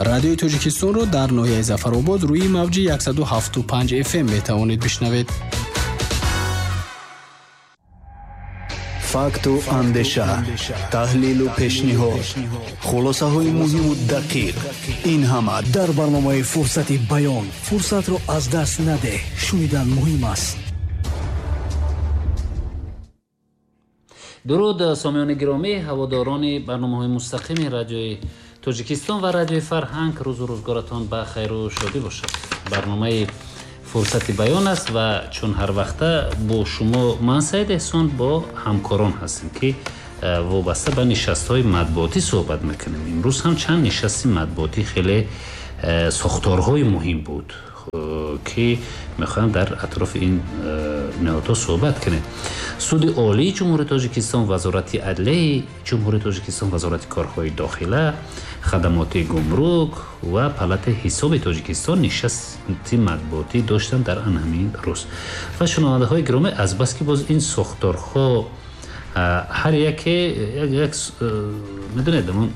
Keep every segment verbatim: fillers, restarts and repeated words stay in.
Радиои Тоҷикистонро дар ноҳияи Зафаробод рӯи мавҷи яксаду ҳафту панҷ эф эм метавонед бишнавед. Факту андеша, таҳлилу пешниҳод, хулосаҳои муҳиму дақиқ, ин ҳама дар барномаи Фурсати баён. Фурсатро аз даст надеҳ, шунидан муҳим аст. Дуруд сомиёни гиромӣ, ҳаводорони барномаҳои мустақими радиои Тоҷикистон ва радиои Фарҳанг, рӯзу рӯзгоратон ба хайру шодӣ бошад. Барномаи Фурсати баён аст ва чун ҳар вақта бо шумо ман Саид Эҳсон бо ҳамкорон ҳастем, ки вобаста ба нишастҳои матбуотӣ суҳбат мекунем. Имрӯз ҳам чанд нишасти матбуотӣ хеле сохторҳои муҳим буд, ки мехоҳам дар атрофи ин ниҳодҳо суҳбат кунем. Суди Олии Ҷумҳурии Тоҷикистон, Вазорати Адлияи Ҷумҳурии Тоҷикистон, Вазорати корҳои дохила, хадамоти гумрук ва Палатаи ҳисоби Тоҷикистон нишасти матбуотӣ доштанд дар ан ҳамин рӯз. Ва шунавандаҳои гиромӣ, азбаски боз ин сохторҳо ҳар яке як медонед, ҳамон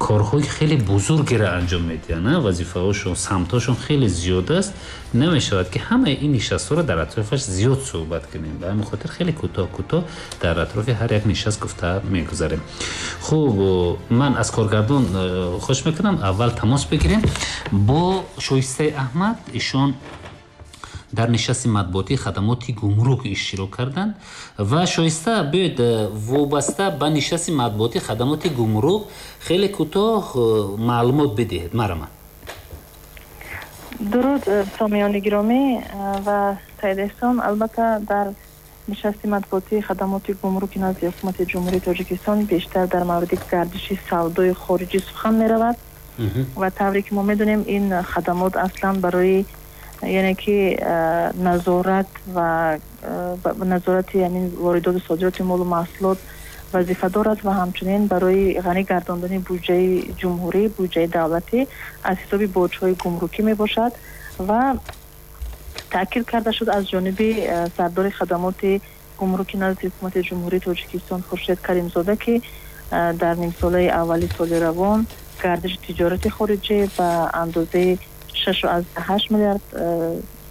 корҳои хеле бузургеро анҷом медиҳанд, вазифаҳошон, самтҳошон хеле зиёд аст. Намешавад ки ҳамаи ин нишастҳоро дар атрофаш зиёд суҳбат кунем. Ба ҳамин хотир хеле кӯтоҳ кӯтоҳ дар атрофи ҳар як нишаст гуфта мегузарем. Хуб, ман аз коргардон хоҳиш мекунам аввал тамос бигирем бо Шоистаи Аҳмад. Ишон дар нишасти матбуотии хадамоти гумрук иштирок карданд. Ва Шоиста, биёед вобаста ба нишасти матбуотии хадамоти гумрук хеле кӯтоҳ маълумот бидиҳед. Марама. Дуруд сомиёни гиромӣ ва Саид Эҳсон. Албатта дар нишасти матбуотии хадамоти гумруки назди ҳукумати Ҷумҳурии Тоҷикистон бештар дар мавриди гардиши савдои хориҷӣ сухан меравад ва тавре ки мо медонем, ин хадамот аслан барои яъне ки назорат ва назорати ҳамин воридоту содироти молу маҳсулот вазифа дорад ва ҳамчунин барои ғанӣ гардондани буҷаи ҷумҳурӣ, буҷаи давлатӣ аз ҳисоби боҷҳои гумрукӣ мебошад. Ва таъкид карда шуд аз ҷониби сардори хадамоти гумруки назди ҳукумати Ҷумҳурии Тоҷикистон Хуршед Каримзода, ки дар нимсолаи аввали соли равон гардиши тиҷорати хориҷӣ ба андозаи шаш аз ҳашт миллиард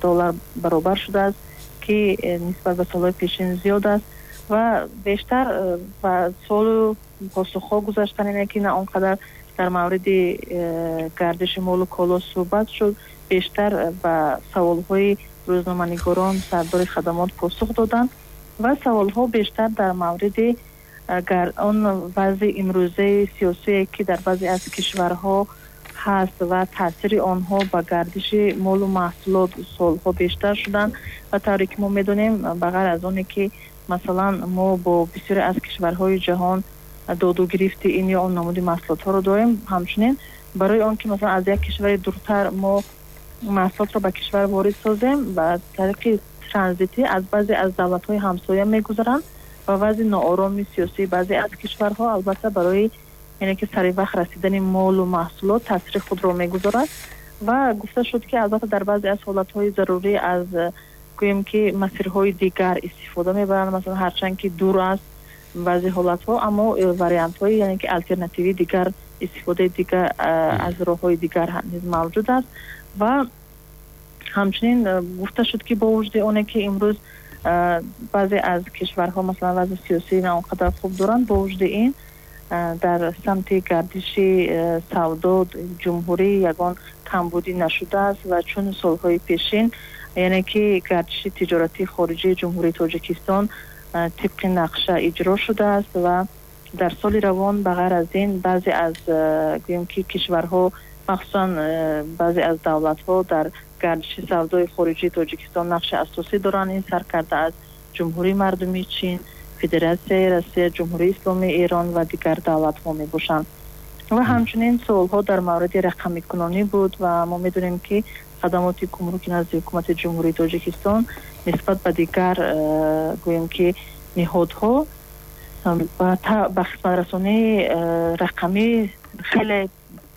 доллар баробар шудааст, ки нисбат ба солҳои пешин зиёд аст. Ва бештар ба суолу посухҳо гузаштан, ине ки на он қадар дар мавриди гардиши молу коло суҳбат шуд, бештар ба саволҳои рӯзноманигорон сардори хадамот посух доданд ва саволҳо бештар дар мавриди он вазъи имрӯзаи сиёсие, ки дар баъзе аз кишварҳо ҳаст ва таъсири онҳо ба гардиши молу маҳсулот солҳо бештар шуданд. Ва тавре ки мо медонем, ба ғайр аз оне ки масалан мо бо бисёре аз кишварҳои ҷаҳон доду гирифти ин ё он намуди маҳсулотҳоро дорем, ҳамчунин барои он ки масалан аз як кишвари дуртар мо маҳсулотро ба кишвар ворид созем, ба тариқи транзитӣ аз баъзе аз давлатҳои ҳамсоя мегузаранд ва вазъи ноороми сиёсии баъзе аз кишварҳо албатта барои яъне ки сари вақт расидани молу маҳсулот таъсири худро мегузорад. Ва гуфта шуд, ки албатта дар баъзе аз ҳолатҳои зарурӣ аз гӯем ки масирҳои дигар истифода мебаранд, масалан ҳарчанд ки дур аст баъзе ҳолатҳо, аммо вариантҳои яъне ки алтернативии дигар, истифодаи дигар аз роҳҳои дигар низ мавҷуд аст. Ва ҳамчунин гуфта шуд, ки бо вуҷуди оне ки имрӯз баъзе аз кишварҳо масалан вазъи сиёсӣ на он қадар хуб доранд, бо вуҷуди ин дар самти гардиши савдо ҷумҳурӣ ягон камбудӣ нашудааст ва чун солҳои пешин яъне ки гардиши тиҷоратии хориҷии Ҷумҳурии Тоҷикистон тибқи нақша иҷро шудааст. Ва дар соли равон ба ғайр аз ин баъзе аз гӯем ки кишварҳо, махсусан баъзе аз давлатҳо дар гардиши савдои хориҷии Тоҷикистон нақши асосӣ доранд. Ин сар карда аз Ҷумҳурии Мардумии Чин, Федератсияи Россия, Ҷумҳурии Исломии Эрон ва дигар давлатҳо мебошанд. Ва ҳамчунин суолҳо дар мавриди рақамикунонӣ буд ва мо медонем, ки хадамоти гумруки назди ҳукумати Ҷумҳурии Тоҷикистон нисбат ба дигар гӯем ки ниҳодҳо ба хизматрасонии рақамӣ хеле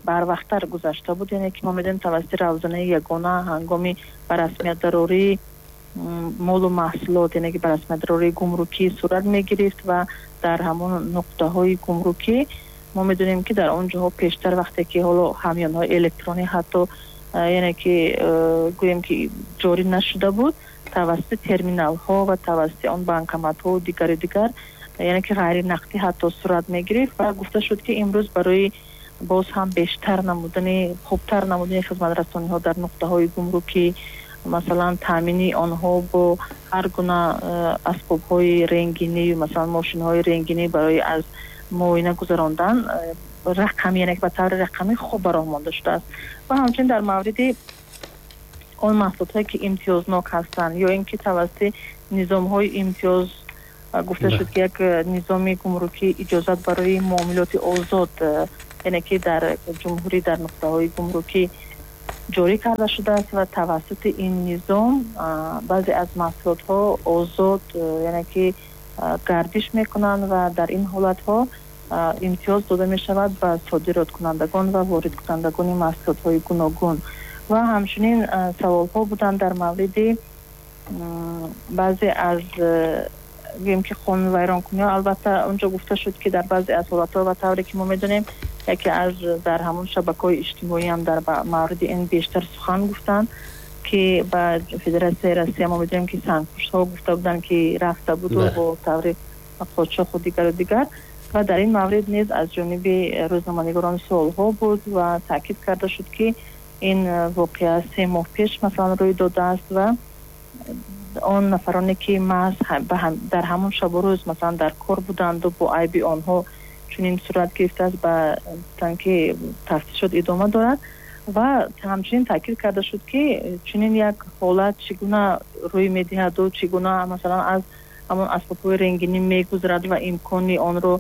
барвақттар гузашта буд. Яъне ки мо медонем тавассути равзанаи ягона ҳангоми ба расмият дарории молу маҳсулот, яъне ки ба расмият дарории гумрукӣ сурат мегирифт ва дар ҳамон нуқтаҳои гумрукӣ Мо медонем, ки дар он ҷоҳо пештар вақте ки ҳоло ҳамёнҳои электронӣ ҳатто, яъне ки гӯем ки ҷорӣ нашуда буд, тавассути терминалҳо ва тавассути он банкоматҳо дигару дигар, яъне ки ғайринақдӣ ҳатто сурат мегирифт. Ва гуфта шуд, ки имрӯз барои боз ҳам бештар намудани, хубтар намудани хизматрасониҳо дар нуқтаҳои гумрукӣ, масалан таъмини онҳо бо ҳар гуна асбобҳои рентгенӣ, масалан мошинҳои рентгенӣ барои аз муоина гузарондан рақамӣ, яъне ба таври рақамӣ хуб ба роҳ монда шудааст. Ва ҳамчунин дар мавриди он маҳсулотҳое ки имтиёзнок ҳастанд ё ин ки тавассути низомҳои имтиёз, гуфта шуд, ки як низоми гумрукӣ иҷозат барои муомилоти озод, яъне ки дар ҷумҳурӣ дар нуқтаҳои гумрукӣ ҷорӣ карда шудааст ва тавассути ин низом баъзе аз маҳсулотҳо озод, яъне ки гардиш мекунанд ва дар ин ҳолатҳо имтиёз дода мешавад ба содироткунандагон ва воридкунандагони маҳсулотҳои гуногун. Ва ҳамчунин саволҳо буданд дар мавриди баъзе аз, гӯем ки, қонунвайронкуниҳо. Албатта, онҷо гуфта шуд, ки дар баъзе аз ҳолатҳо ва тавре ки мо медонем, яке аз дар ҳамон шабакаҳои иҷтимоӣ ҳам дар мавриди ин бештар сухан гуфтанд, ки ба Федератсияи Россия мо медонем, ки сангпуштҳо гуфта буданд, ки рафта буду бо таври қочоқу дигару дигар. Ва дар ин маврид низ аз ҷониби рӯзноманигорон суолҳо буд ва таъкид карда шуд, ки ин воқеа се моҳ пеш масалан рӯй додааст ва он нафароне ки маҳз дар ҳамон шабу рӯз масалан дар кор буданду бо айби онҳо чунин сурат гирифтааст, ба гуфтанд, ки тафтишот идома дорад. Ва ҳамчунин таъкид карда шуд, ки чунин як ҳолат чӣ гуна рӯй медиҳаду чӣ гуна масалан аз ҳамон асбобҳои рентгенӣ мегузарад ва имкони онро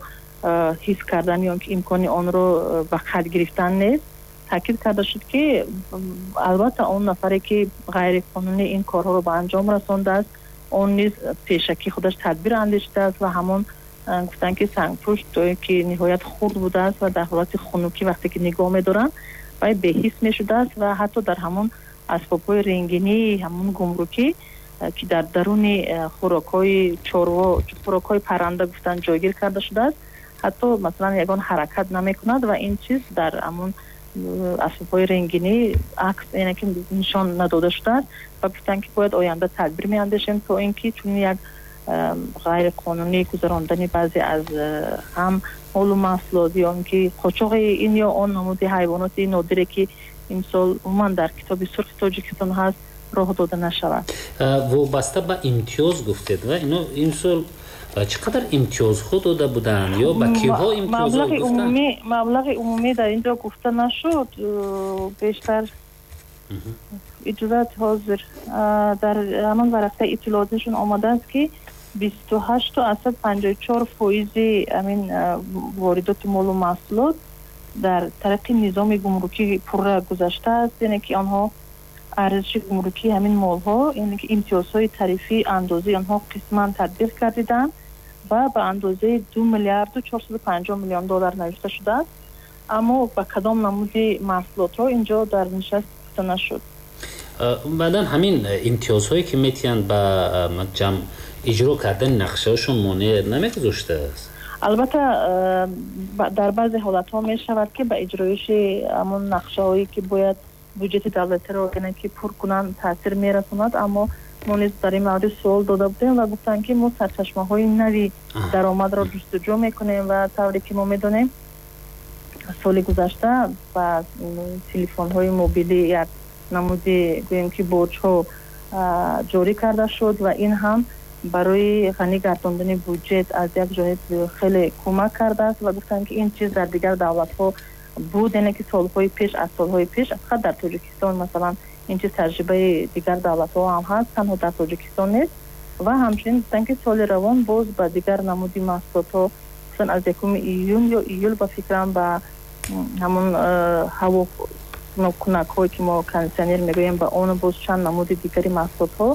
ҳис кардан ё ки имкони онро ба қайд гирифтан нест. Таъкид карда шуд, ки албатта он нафаре ки ғайриқонунӣ ин корҳоро ба анҷом расондааст, он низ пешакӣ худаш тадбир андешидааст. Ва ҳамон гуфтанд, ки сангпушт ки ниҳоят хурд будааст ва дар ҳолати хунукӣ вақте ки нигоҳ медоранд, вай беҳис мешудааст ва ҳатто дар ҳамон асбобҳои рентгении ҳамон гумрукӣ, ки дар даруни хӯрокҳои чорво, хӯрокҳои парранда гуфтанд ҷойгир карда шудааст, ҳатто масалан ягон ҳаракат намекунад ва ин чиз дар ҳамон асбобҳои рентгенӣ акс, яъне ки нишон надода шудааст. Ва гуфтанд, ки бояд оянда тадбир меандешем, то ин ки чунин як ғайриқонунӣ гузарондани баъзе аз ҳам молу маҳсулот ё ин ки қочоқи ин ё он намуди ҳайвоноти нодире, ки имсол умуман дар Китоби сурхи Тоҷикистон ҳаст, роҳ дода нашавад. Вобаста ба имтиёз гуфтед, ва ино имсол чӣ қадар имтиёзҳо дода буданд ё ба киҳо имтиёзҳо гуфтанд? Маблағи умумӣ дар ин ҷо гуфта нашуд. Бештар иҷозат, ҳозир дар ҳамон варақаи иттилоотишон омадааст, ки бисту ҳашту аз сад панҷоҳу чор фоизи ҳамин воридоти молу маҳсулот дар тариқи низоми гумрукӣ пурра гузаштааст, яъне ки онҳо арзиши гумрукии ҳамин молҳо, яъне ки имтиёзҳои тарифии андозии онҳо қисман татбиқ гардиданд ва ба андозаи ду миллиарду чорсаду панҷоҳ миллион доллар навишта шудааст. Аммо ба кадом намуди маҳсулотҳо инҷо дар нишаст гуфта нашуд. Баъдан ҳамин имтиёзҳое ки метиҳанд, ба ҷамъ иҷро кардани нақшаҳошон монеа намегузоштааст? Албатта, дар баъзе ҳолатҳо мешавад, ки ба иҷроиши ҳамон нақшаҳое, ки бояд буҷети давлатиро, яъне ки пур кунанд, таъсир мерасонад. Аммо мо низ дар ин маврид суол дода будем ва гуфтанд, ки мо сарчашмаҳои нави даромадро ҷустуҷӯ мекунем. Ва тавре ки мо медонем, соли гузашта ба телефонҳои мобилӣ як намуди, гӯем ки, боҷҳо ҷорӣ карда шуд ва ин ҳам барои ғанӣ гардондани буҷет аз як ҷониб хеле кӯмак кардааст. Ва гуфтанд, ки ин чиз дар дигар давлатҳо буд, яъне ки солҳои пеш, аз солҳои пеш, фақат дар Тоҷикистон масалан ин чиз таҷрибаи дигар давлатҳо ҳам ҳаст, танҳо дар Тоҷикистон нест. Ва ҳамчунин гуфтанд, ки соли равон боз ба дигар намуди маҳсулотҳо, гуфтанд, аз якуми июн ё июл ба фикрам, ба ҳамон ҳавокунакҳое, ки мо кондитсионер мегӯем, ба он боз чанд намуди дигари маҳсулотҳо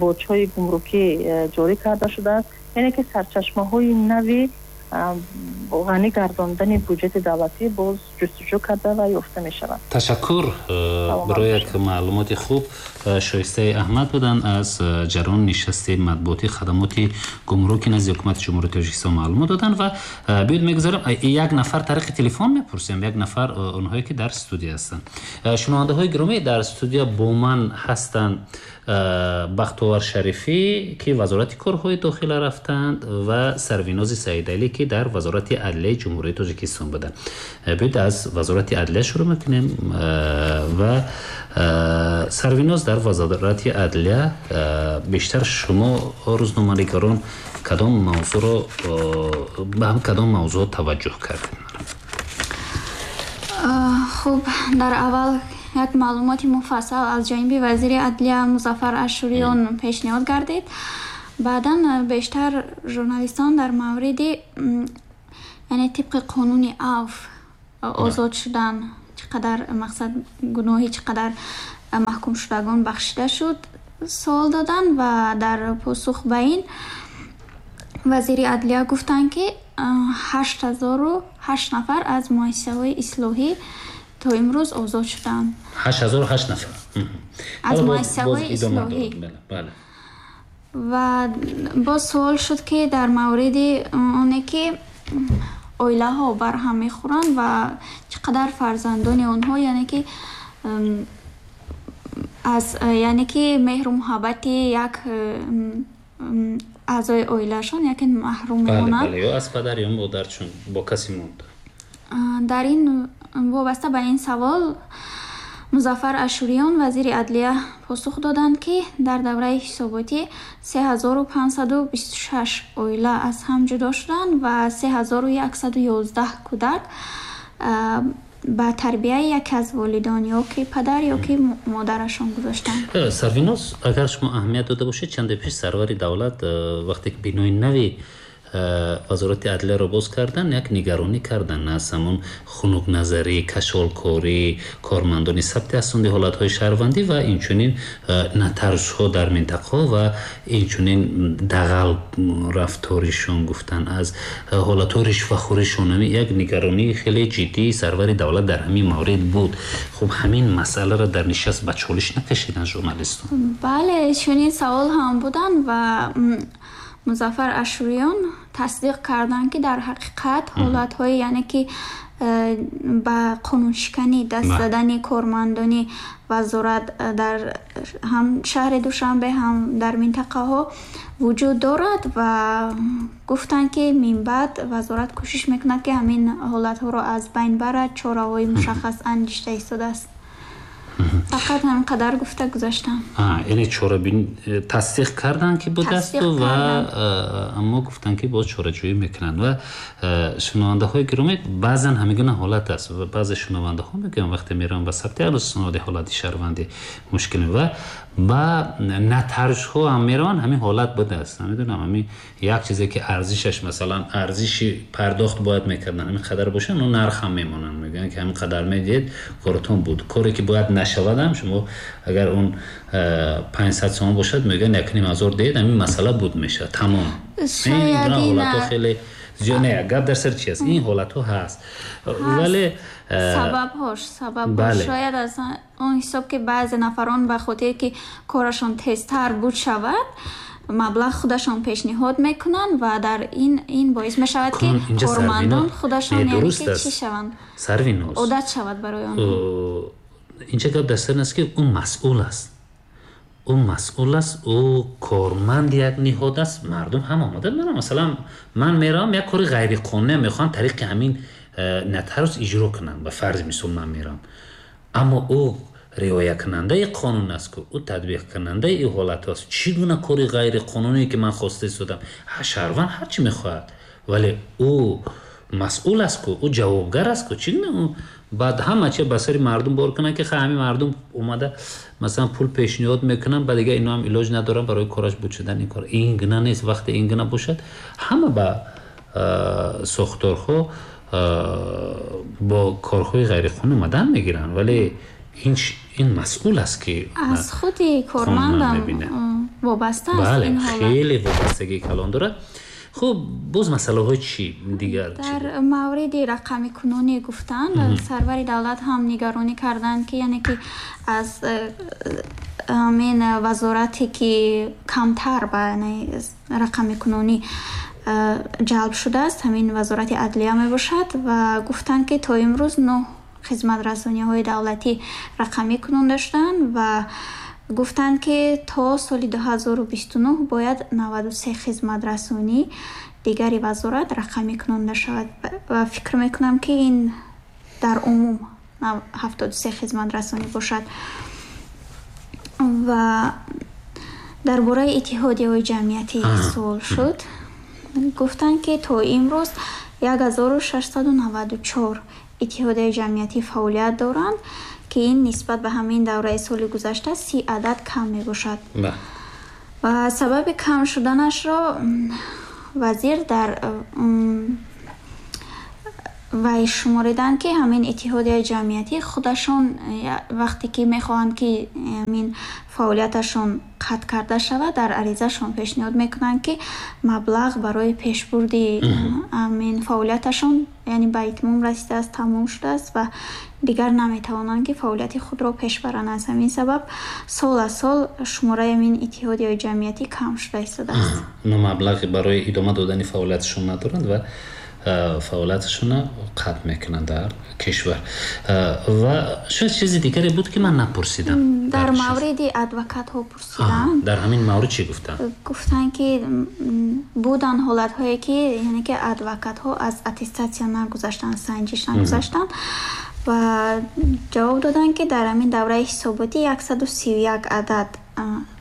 боҷҳои гумрукӣ ҷорӣ карда шудааст, яъне ки сарчашмаҳои нави ғанӣ гардондани буҷети давлатӣ боз ҷустуҷӯ карда ва ёфта мешавад. Ташаккур барои як маълумоти хуб. Шоистаи Аҳмад буданд аз ҷараёни нишасти матбуоти хадамоти гумруки назди ҳукумати Ҷумҳурии Тоҷикистон маълумот доданд ва биёед мегузарем як нафар тариқи телефон мепурсем, як нафар онҳое ки дар студия ҳастанд. Шунавандаҳои гиромӣ, дар студия бо ман ҳастанд Бахтовар Шарифӣ, ки Вазорати корҳои дохила рафтанд, ва Сарвинози Саидалӣ, ки дар Вазорати адлияи Ҷумҳурии Тоҷикистон буданд. Биёед аз Вазорати адлия шурӯъ мекунем ва Сарвиноз, дар Вазорати адлия бештар шумо рӯзноманигарон кадом мавзӯъро ба ҳам кадом мавзӯъ таваҷҷӯҳ кардед? Хуб, дар аввал як маълумоти муфассал аз ҷониби вазири адлия Музаффар Ашуриён пешниҳод гардид. Баъдан бештар журналистон дар мавриди, яъне тибқи қонуни авф озод шудан, чӣ қадар мақсад гуноҳи чӣ қадар маҳкумшудагон бахшида шуд суол доданд ва дар посух ба ин вазири адлия гуфтанд, ки ҳашт ҳазору ҳашт нафар аз муассисаҳои ислоҳӣ то имрӯз озод шуданд. ҳашт ҳазору ҳашт нафар аз муассисаҳои ислоҳӣ. Ва боз суол шуд, ки дар мавриди оне ки оилаҳо барҳам мехӯранд ва чӣ қадар фарзандони онҳо, яъне ки аз яъне ки меҳру муҳаббати як аъзои оилаашон яке маҳрум мемонанд. Бале, ё аз падар ё модар, чун бо касе монда. Дар ин вобаста ба ин савол Музаффар Ашуриён, вазири адлия, посух доданд, ки дар давраи ҳисоботӣ се ҳазору панҷсаду бисту шаш оила аз ҳам ҷудо шуданд ва се ҳазору яксаду ёздаҳ кӯдак ба тарбияи яке аз волидон, ё ки падар ё ки модарашон гузоштанд. Сарвиноз, агар шумо аҳамият дода бошед, чанде пеш сарвари давлат вақте ки бинои нави Вазорати адлияро боз кардан, як нигаронӣ кардан аз ҳамон хунукназарӣ, кашолкорӣ, кормандони сабти асноди ҳолатҳои шаҳрвандӣ ва инчунин нотариусҳо дар минтақаҳо ва инчунин дағал рафторишон гуфтан аз ҳолатҳои ришвахӯришон. Як нигаронии хеле ҷиддии сарвари давлат дар ҳамин маврид буд. Хуб, ҳамин масъаларо дар нишаст ба чолиш накашидан журналистон? Бале, чунин савол ҳам буданд ва Музаффар Ашуриён тасдиқ карданд, ки дар ҳақиқат ҳолатҳои, яъне ки ба қонуншиканӣ даст задани кормандони вазорат дар ҳам шаҳри Душанбе, ҳам дар минтақаҳо вуҷуд дорад ва гуфтанд, ки минбаъд вазорат кӯшиш мекунад, ки ҳамин ҳолатҳоро аз байн барад, чораҳои мушаххас андешида истодааст. Фақат ҳамин қадар гуфта гузаштам. Яъне чорабин тасдиқ карданд, ки будасту ва аммо гуфтанд, ки боз чораҷӯӣ мекунанд. Ва шунавандаҳои гиромӣ, баъзан ҳамин гуна ҳолат аст ва баъзе шунавандаҳо мегӯянд, вақте мераванд ба сабти асноди ҳолати шаҳрвандӣ мушкил ва ба нотариусҳо ҳам мераванд, ҳамин ҳолат будааст. Намедонам, ҳамин як чизе ки арзишаш, масалан арзиши пардохт бояд мекарданд, ҳамин қадар бошад, он нарх ҳам мемонанд, мегӯянд ки ҳамин қадар медиҳед, коратон буд. Коре ки бояд нашавад ҳам шумо агар он панҷсад сомон бошад, мегӯянд як ним ҳазор диҳед, ҳамин масъала буд мешавад, тамом. Ин гуна ҳолатҳо хеле зиёд. Не, гап дар сар чи аст? Ин ҳолатҳо ҳаст, вале сабабҳош сабабҳош шояд аз он ҳисоб, ки баъзе нафарон ба хотире ки корашон тезтар буд шавад, маблағ худашон пешниҳод мекунанд ва дар ин ин боис мешавад, ки кормандон худашон, яъне ки чӣ шаванд, Сарвиноз, одат шавад барои онҳо. Инҷа гап дар сар аст, ки ӯ масъул аст, ӯ масъул аст, ӯ корманди як ниҳод аст. Мардум ҳам омода мераванд. Масалан, ман меравам, як кори ғайриқонунӣ мехоҳам тариқи ҳамин нотариус иҷро кунам, ба фарзи мисол ман меравам, аммо ӯ риоякунандаи қонун аст, ку ӯ татбиқкунандаи ин ҳолат аст. Чӣ гуна кори ғайриқонуние ки ман хоста истодам? Шаҳрванд ҳар чӣ мехоҳад, вале ӯ масъул аст, ку ӯ ҷавобгар аст, ку чӣ гуна ӯ баъд ҳама чи ба сари мардум бор кунанд, ки ҳамин мардум омада масалан пул пешниҳод мекунанд, ба дигар ино ҳам илоҷ надоранд барои кораш буд шудан. Ин кор ин гуна нест. Вақте ин гуна бошад, ҳама ба сохторҳо бо корҳои ғайриқонунӣ омадан мегиранд, вале ин ин масъул аст, ки аз худи кормандам вобаста аст. Бале, хеле вобастагии калон дорад. Хуб, боз масъалаҳои чӣ дигар? Дар мавриди рақамикунонӣ гуфтанд, сарвари давлат ҳам нигаронӣ карданд, ки яъне ки аз ҳамин вазорате ки камтар ба рақамикунонӣ ҷалб шудааст, ҳамин вазорати адлия мебошад ва гуфтанд, ки то имрӯз нӯҳ хизматрасониҳои давлатӣ рақамӣ кунонда шуданд ва гуфтанд, ки то соли дуҳазору бисту нӯҳ бояд наваду се хизматрасонӣ дигари вазорат рақамӣ кунонда шавад ва фикр мекунам, ки ин дар умум ҳафтоду се хизматрасонӣ бошад. Ва дар бораи иттиҳодияҳои ҷамъиятӣ суол шуд. Гуфтанд, ки то имрӯз як ҳазору шашсаду наваду чор иттиҳодияи ҷамъиятӣ фаъолият доранд, ки ин нисбат ба ҳамин давраи соли гузашта си адад кам мебошад. Ва сабаби кам шуданашро вазир дар вай шумориданд, ки ҳамин иттиҳодияи ҷамъиятӣ худашон вақте ки мехоҳанд, ки ҳамин фаъолияташон қатъ карда шавад, дар аризашон пешниҳод мекунанд, ки маблағ барои пешбурди ҳамин фаъолияташон яъне ба итмом расидааст, тамом шудааст ва дигар наметавонанд, ки фаъолияти худро пеш баранд. Аз ҳамин сабаб сол аз сол шумораи ҳамин иттиҳодияи ҷамъиятӣ кам шуда истодааст. Ино маблағи барои идома додани фаъолияташон надоранд ва фаъолияташонро қатъ мекунанд дар кишвар. Ва шояд чизи дигаре буд, ки ман напурсидам. Дар мавриди адвокатҳо пурсиданд. Дар ҳамин маврид чӣ гуфтанд? Гуфтанд, ки буданд ҳолатҳое, ки яъне ки адвокатҳо аз аттестатсия нагузаштанд, санҷиш нагузаштанд ва ҷавоб доданд, ки дар ҳамин давраи ҳисоботӣ яксаду сию як адад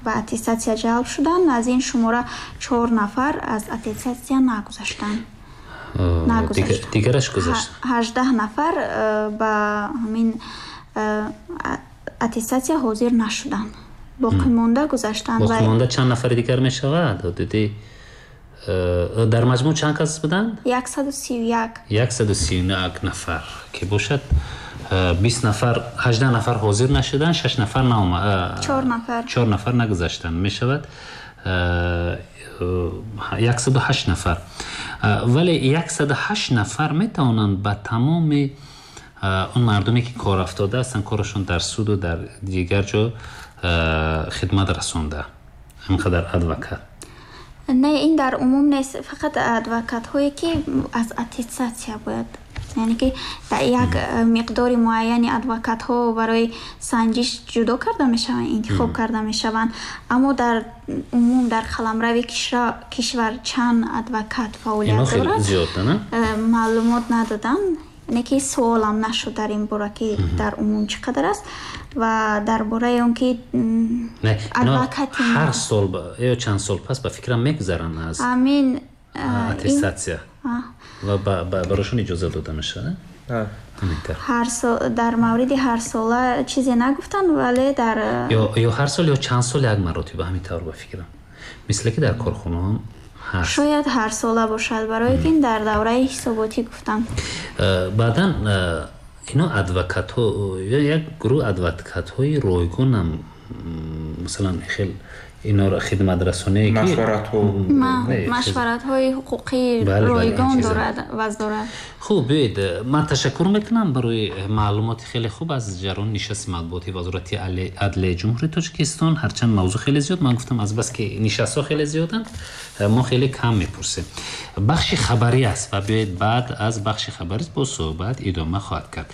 ба аттестатсия ҷалб шуданд. Аз ин шумора чор нафар аз аттестатсия нагузаштанд. Дигараш гузашт. Ҳаждаҳ нафар ба ҳамин аттестатсия ҳозир нашуданд. Боқимонда гузаштанд. Боқимонда чанд нафари дигар мешавад? Ҳудуди дар маҷмӯъ чанд кас буданд? Яксаду сию як. Яксаду сию як нафар ки бошад, бист нафар, ҳаждаҳ нафар ҳозир нашуданд, шаш нафар наомад, чор нафар. Чор нафар нагузаштанд. Мешавад яксаду ҳашт нафар. Вале яксаду ҳашт нафар метавонанд ба тамоми он мардуме, ки кор афтода ҳастанд, корашон дар суду дар дигар ҷо хидмат расонда, ҳамқадар адвокат. Не, ин дар умум нест, фақат адвокатҳое, ки аз аттестатсия бояд, яъне ки дар як миқдори муайяни адвокатҳо барои санҷиш ҷудо карда мешаванд, интихоб карда мешаванд. Аммо дар умум дар қаламрави кишвар чанд адвокат фаъолият дорад, маълумот надоданд. Яъне ки суолам нашуд дар ин бора, ки дар умум чӣ қадар аст ва дар бораи он ки адвокати ҳар сол ё чанд сол пас ба фикрам мегузаранд аз ҳамин аттестатсия ва барошон иҷоза дода мешавад. Ҳар сол дар мавриди ҳар сола чизе нагуфтанд, вале дар ё ҳар сол ё чанд сол як маротиба ҳамин тавр ба фикрам, мисле ки дар корхонаҳо ҳаст. Шояд ҳар сола бошад, барои ки дар давраи ҳисоботӣ гуфтанд. Баъдан ино адвокатҳо, як гурӯҳ адвокатҳои ройгонам, масалан хел иноро хидматрасоние ки машваратҳои ҳуқуқӣ ройгон дорад ваздорад. Хуб, биёед, ман ташаккур мекунам барои маълумоти хеле хуб аз ҷараёни нишасти матбуоти Вазорати адлияи Ҷумҳурии Тоҷикистон. Ҳарчанд мавзӯъ хеле зиёд, ман гуфтам аз бас ки нишастҳо хеле зиёданд, мо хеле кам мепурсем. Бахши хабарӣ аст ва биёед баъд аз бахши хабарӣ бо суҳбат идома хоҳад кард.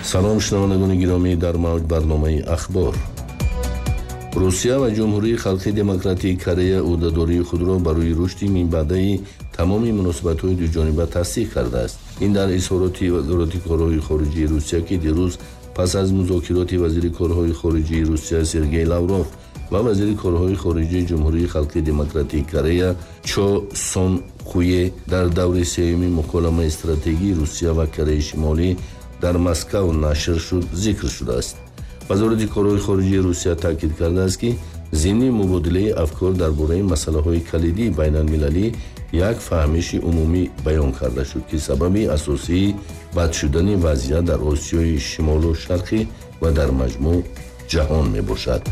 Салом шунавандагони гиромӣ, дар мавҷ барномаи ахбор. Русия ва Ҷумҳурии Халқии Демократии Корея ӯҳдадории худро барои рушди минбаъдаи тамоми муносибатҳои дуҷониба тасдиқ кардааст. Ин дар изҳороти Вазорати корҳои хориҷии Русия, ки дирӯз пас аз музокироти вазири корҳои хориҷии Русия Сергей Лавров ва вазири корҳои хориҷии Ҷумҳурии Халқии Демократии Корея Чо Сон Хуе дар даври сеюми муколамаи стратегии Русия ва Кореяи Шимолӣ дар Москав нашр шуд, зикр шудааст. Вазорати корҳои хориҷии Русия таъкид кардааст, ки зимни мубодилаи афкор дар бораи масъалаҳои калидии байналмилалӣ Як фаҳмиши умумӣ баён карда шуд, ки сабаби асосии бад шудани вазъият дар Осиёи Шимолу Шарқӣ ва дар маҷмӯъ ҷаҳон мебошад.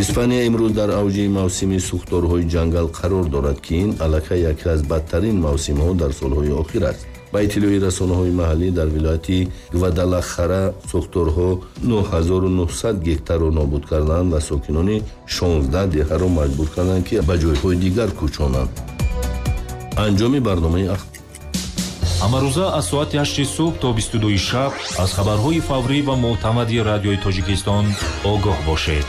Испания имрӯз дар авҷи мавсими сӯхторҳои ҷангал қарор дорад, ки ин аллакай яке аз бадтарин мавсимҳо дар солҳои охир аст. Ба иттилои расонаҳои маҳаллӣ, дар вилояти Гвадалахара сӯхторҳо нӯҳ ҳазору нӯҳсад гектарро нобуд карданд ва сокинони шонздаҳ деҳаро маҷбур карданд, ки ба ҷойҳои дигар кӯчонанд. Анҷоми барномаи Ҳамарӯза аз соати ҳашти субҳ то бисту дуи шаб аз хабарҳои фаврӣ ва мӯътамади Радиои Тоҷикистон огоҳ бошед.